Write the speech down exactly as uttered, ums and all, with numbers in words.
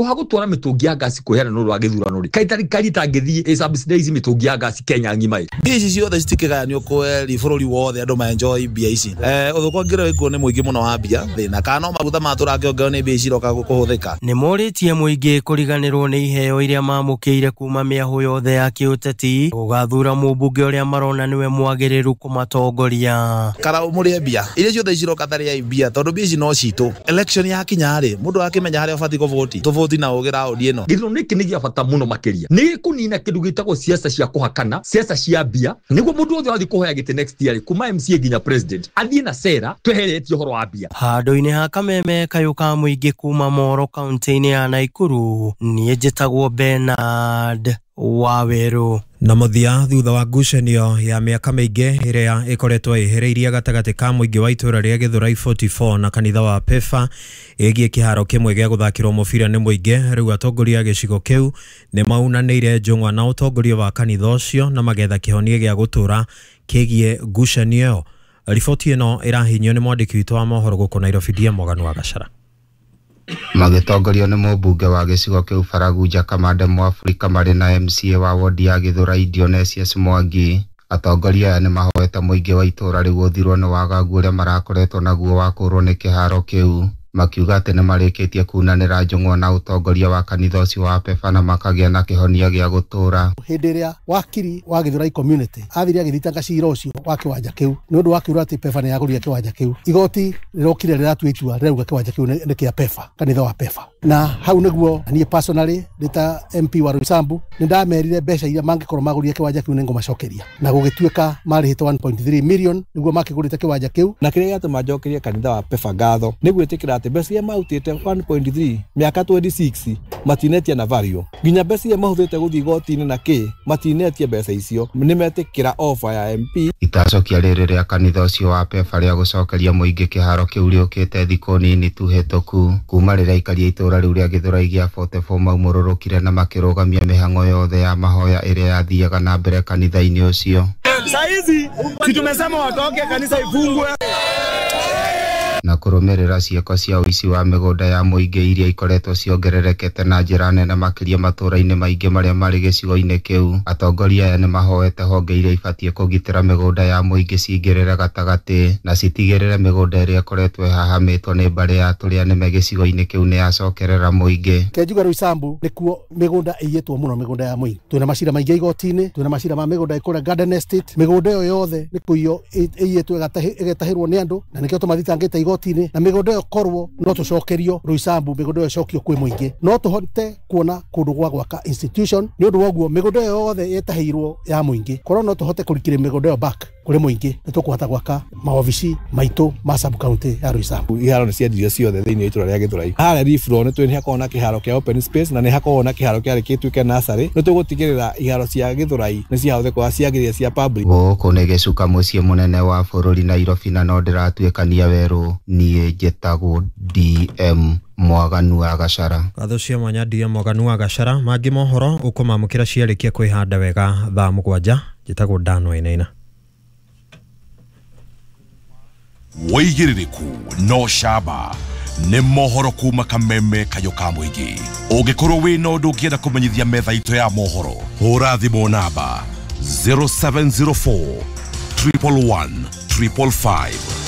Ha gũtwara mĩtũngi ya ngasi kũheana nĩ ũndũ wa gĩthurano rĩ, kaĩ thirikari ĩtangĩthiĩ ĩ subsidize mĩtũngi ya ngasi Kenya ng'ima ĩ? Mbia ici ciothe citikĩgayanio kweri bũrũri wothe andũ ma enjoy mbia ici. Eh, ũthũkangia wĩkuo nĩ mũingĩ mũno wa mbia thĩna kana no maguta matũrakĩongererwo nĩ mbia ici iroka kũhũthĩka. Nĩ morĩtie mũingĩ kũriganĩrwo nĩ iheo iria mamũkĩire kuma mĩahũ yothe ya kĩũteti gũgathura mũmbunge ũrĩa marona nĩwe mwagĩrĩru kũmatongoria. Kana mũrĩe mbia iria ciothe ciroka tarĩai mbia tondũ mbia ici no citũ. Election yakinya rĩ, mũndũ akĩmenya harĩa ũbatiĩ kũvoti, tũvoti na ũgĩ raũndi ĩno. Gĩthurano gĩkĩ nĩ gĩa bata mũno makĩria, nĩ gĩkũnina kĩndũ gĩtagwo siasa cia kũhakana, siasa cia mbia, nĩguo mũndũ wothe wathiĩ kũhoya gĩtĩ next year kuma M C A nginya president athiĩ na sera tweheretie ũhoro wa mbia. Handũ-inĩ ha kameme kayũ ka mũingĩ kuma Moro kaunti-inĩ ya Naikuru, niĩ njĩtagwo Bernard Waweru. Na mũthia thutha wa ngucanio ya mĩaka mĩingĩ ĩrĩa ĩkoretwo ĩhereirie gatagatĩ ka mũingĩ wa itũũra rĩa Gĩthũrai forty-four na kanitha wa Pefa ĩgiĩ kĩharo kĩmwe gĩa gũthakĩrwo mũbira nĩ mũingĩ, rĩu atongoria a gĩcigo kĩu nĩ maunanĩire njũng'wa na ũtongoria wa kanitha ũcio na magetha kĩhonia gĩa gũtũũra kĩgiĩ ngucanio ĩyo. Riboti ĩno ĩrahinyio nĩ mwandĩki witũ wa mohoro gũkũ Nairobi, D M Morgan wa Gachara. Magĩtongorio nĩ mũmbunge wa gĩcigo kĩu Baragunja Kamande Mũafrika marĩ na M C A wa wodi ya Gĩthũrai Dionysius Mwangi, atongoria aya nĩ mahoete mũingĩ wa itũũra rĩu ũthirwo nĩ wagagu ũrĩa marakoretwo naguo wa kũũrwo nĩ kĩharo kĩu, makiuga atĩ nĩ marĩkĩtie kunanĩra njũng'wa na ũtongoria wa kanitha ũcio wa Pefa na makagĩa na kĩhonia gĩa gũtũũra. Hĩndĩ ĩrĩa wakiri wa Gĩthũrai community athire agĩthitanga cira ũcio wa kĩwanja kĩu nĩ ũndũ wa kiuga atĩ Pefa nĩ yagũrire kĩwanja kĩu, igoti rĩrokire rĩratua itua rĩrauga kĩwanja kĩu nĩ kĩa Pefa, kanitha wa Pefa. Na hau nĩguo niĩ personally ndĩ ta M P wa Roysambu nĩ ndamerire mbeca iria mangĩkorwo magũrire kĩwanja kĩu nĩ ngũmacokeria, na gũgĩtuĩka marĩhĩte one point three million nĩguo makĩgũrĩte kĩwanja kĩu. Na kĩrĩa gĩatũma njokerie kanitha wa Pefa ngatho nĩ gwĩtĩkĩra atĩ mbeca iria marutĩte one point three mĩaka twenty-six matinetia na value, nginya mbeca iria mahũthĩrĩte gũthiĩ igoti-inĩ na kĩ matinetie mbeca icio, nĩ metĩkĩra offer ya M P. Itacokia rĩrĩ rĩa kanitha ũcio wa Pefa rĩa gũcokeria mũingĩ kĩharo kĩu rĩũkĩte thikũ nini tu hĩtũku kuma rĩrĩa aikari a itũũra rĩu rĩa Gĩthũrai gĩa forty-four maumũrũrũkire na makĩrũgamia mĩhang'o yothe ya mahoya ĩrĩa yathiaga na mbere kanitha-inĩ ũcio. Saizi si tumesema watoke kanisa ifungwe. Na kũrũmĩrĩra ciĩko cia ũici wa mĩgũnda ya mũingĩ iria ikoretwo ciongererekete na njĩra nene makĩria matũũra-inĩ maingĩ marĩa marĩ gĩcigo-inĩ kĩu, atongoria aya nĩ mahoete honge iria ibatiĩ kũgitĩra mĩgũnda ya mũingĩ cingĩrĩre gatagatĩ na citigĩrĩre mĩgũnda ĩrĩa ĩkoretwo ĩhahamĩtwo nĩ mbarĩ ya tũrĩa nĩme gĩcigo-inĩ kĩu nĩ yacokerera mũingĩ. Kenjuga Roysambu nĩkuo mĩgũnda ĩiyĩtwo mũno, mĩgũnda ya mũingĩ. Twĩna macira maingĩ igoti-inĩ, twĩna macira ma mĩgũnda ĩkũrĩa Garden Estate, mĩgũnda ĩyo yothe nĩ kũiywo ĩiyĩtwo ĩgetahĩrwo nĩ andũ, na nĩkĩo tũmathitangĩte igoti-inĩ. Na mĩgũnda ĩyo korwo no tũcokerio Roysambu, mĩgũnda ĩyo ĩcokio kwĩ mũingĩ, no tũhote kuona kũndũ gwa gwaka institution. Nĩ ũndũ wa ũguo mĩgũnda ĩyo yothe ĩtahĩirwo ya mũingĩ, korwo no tũhote kũrikĩria mĩgũnda ĩyo back kũrĩ mũingĩ, nĩ tũkũhota gwaka maobici maitũ ma sub county ya Roysambu. Iharo nĩ ciendirio ciothe thĩinĩ wa itũũra rĩa Gĩthũrai. Harĩa Rifro nĩ twĩ hakoragwo na kĩharo kĩa open space na nĩ hakoragwo na kĩharo kĩarĩ gĩtuĩke nursery. Nĩ tũgũtigĩrĩra iharo cia Gĩthũrai nĩ ciahũthĩka ciagĩrĩire cia public. Gũkũ nĩ gĩcuka mũciĩ mũnene wa bũrũri Nairobi, na no ndĩratuĩkania werũ. Niĩ njĩtagwo D M Mwaganu wa Gachara. Ngatho cia mwanya D M Mwaganu wa Gachara. Mangĩ mohoro ũkũmamũkĩra ciarĩkia kwĩhanda wega thaa mũgwanja. Njĩtagwo Dan Wainaina. Wĩigĩrĩrĩku no camba nĩ mohoro kuma kameme kayũ ka mũingĩ. Ũngĩkorwo wĩna ũndũ ũngĩenda kũmenyithia metha itũ ya mohoro, hũra thimũ namba zero seven zero four triple one triple five.